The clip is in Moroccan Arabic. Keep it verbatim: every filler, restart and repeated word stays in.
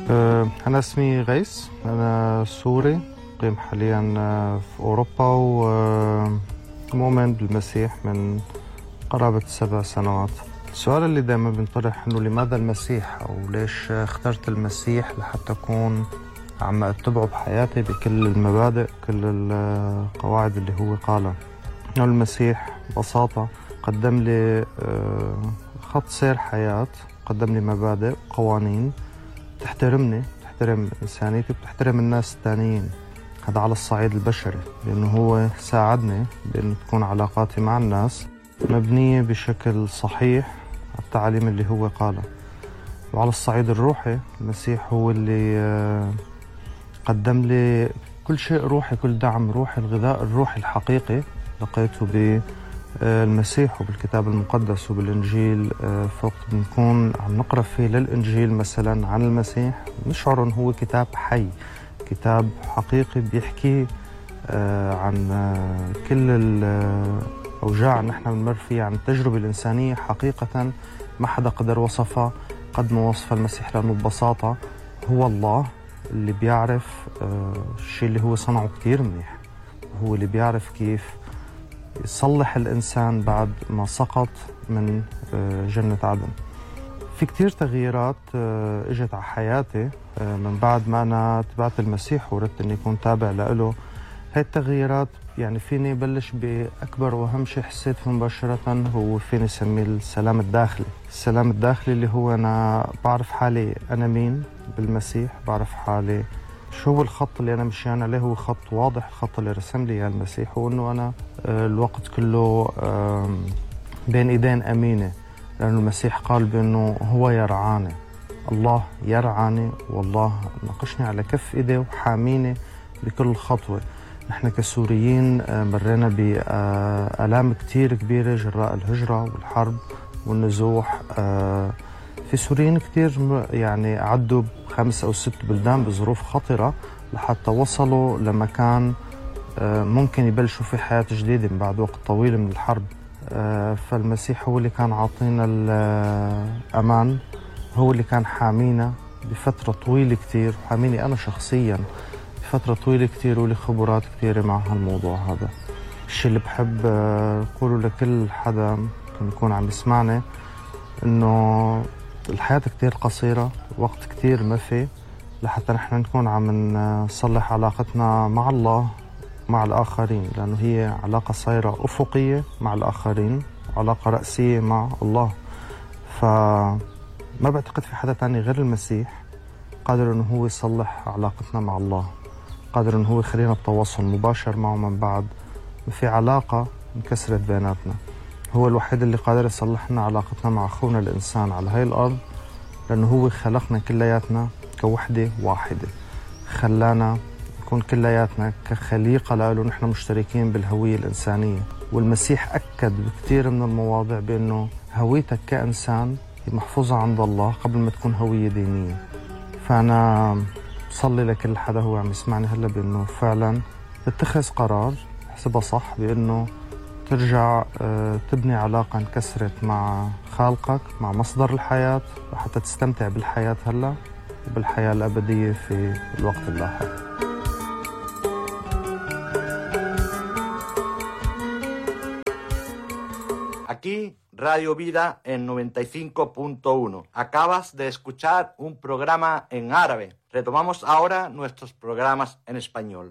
أنا اسمي غيث، أنا سوري، مقيم حاليا في أوروبا ومؤمن بالمسيح من قرابة سبع سنوات. السؤال اللي دائما بنطرح إنه لماذا المسيح، أو ليش اخترت المسيح لحتى أكون عم أتبعه بحياتي بكل المبادئ كل القواعد اللي هو قالها. إنه المسيح ببساطة قدم لي خط سير حياة، قدم لي مبادئ وقوانين تحترمني، تحترم إنسانيتي وتحترم الناس الثانيين. هذا على الصعيد البشري، لأنه هو ساعدني بأنه تكون علاقاتي مع الناس مبنية بشكل صحيح على التعاليم اللي هو قالها. وعلى الصعيد الروحي المسيح هو اللي قدم لي كل شيء روحي، كل دعم روحي، الغذاء الروحي الحقيقي لقيته بالمسيح وبالكتاب المقدس وبالإنجيل. فوقت بنكون عم نقرأ فيه للإنجيل مثلا عن المسيح نشعر أنه هو كتاب حي، كتاب حقيقي بيحكي عن كل الأوجاع اللي نحن بنمر فيها، عن التجربة الإنسانية حقيقة ما حدا قدر وصفها قد ما وصف المسيح، لأنه ببساطة هو الله اللي بيعرف الشيء اللي هو صنعه كتير منيح، هو اللي بيعرف كيف يصلح الإنسان بعد ما سقط من جنة عدن. في كتير تغييرات اجت على حياتي من بعد ما أنا تبعت المسيح وردت أني أكون تابع له. هاي التغييرات يعني فيني بلش بأكبر وأهم شيء حسيت فيه مباشرة، هو فيني سميه السلام الداخلي. السلام الداخلي اللي هو أنا بعرف حالي أنا مين بالمسيح، بعرف حالي شو هو الخط اللي أنا مشيان عليه، هو خط واضح، الخط اللي رسم لي إياه المسيح، هو إنه أنا الوقت كله بين إيدين أمينة، لأنه المسيح قال بأنه هو يرعاني، الله يرعاني، والله ناقشني على كف إيديه وحاميني بكل خطوة. نحن كسوريين مرينا بآلام كتير كبيرة جراء الهجرة والحرب والنزوح. في سوريين كتير يعني عدوا بخمس أو ست بلدان بظروف خطرة لحتى وصلوا لمكان ممكن يبلشوا في حياة جديدة من بعد وقت طويل من الحرب. فالمسيح هو اللي كان عاطينا الأمان، هو اللي كان حامينا بفترة طويلة كتير، حاميني أنا شخصياً بفترة طويلة كتير، ولي خبرات كتيرة مع هالموضوع هذا. الشيء اللي بحب أقوله لكل حدا ممكن يكون عم يسمعني إنه الحياة كتير قصيرة، وقت كتير ما في لحتى نحن نكون عم نصلح علاقتنا مع الله مع الآخرين، لأنه هي علاقة صايرة أفقية مع الآخرين، علاقة رأسية مع الله. فما بعتقد في حدا تاني غير المسيح قادر إنه هو يصلح علاقتنا مع الله، قادر إنه هو يخلينا بتواصل مباشر معه من بعد في علاقة انكسرت بيناتنا. هو الوحيد اللي قادر يصلح لنا علاقتنا مع أخونا الإنسان على هاي الأرض، لأنه هو خلقنا كلياتنا كوحدة واحدة، خلانا نكون كلياتنا كخليقة له، نحن مشتركين بالهوية الإنسانية. والمسيح أكد بكثير من المواضع بأنه هويتك كإنسان محفوظة عند الله قبل ما تكون هوية دينية. فأنا بصلي لكل حدا هو عم يسمعني هلا بأنه فعلا تتخذ قرار حسبها صح، بأنه ترجع تبني علاقة انكسرت مع خالقك، مع مصدر الحياة، وحتى تستمتع بالحياة هلا وبالحياة الأبدية في الوقت اللاحق. Aquí Radio Vida en noventa y cinco punto uno. Acabas de escuchar un programa en árabe. Retomamos ahora nuestros programas en español.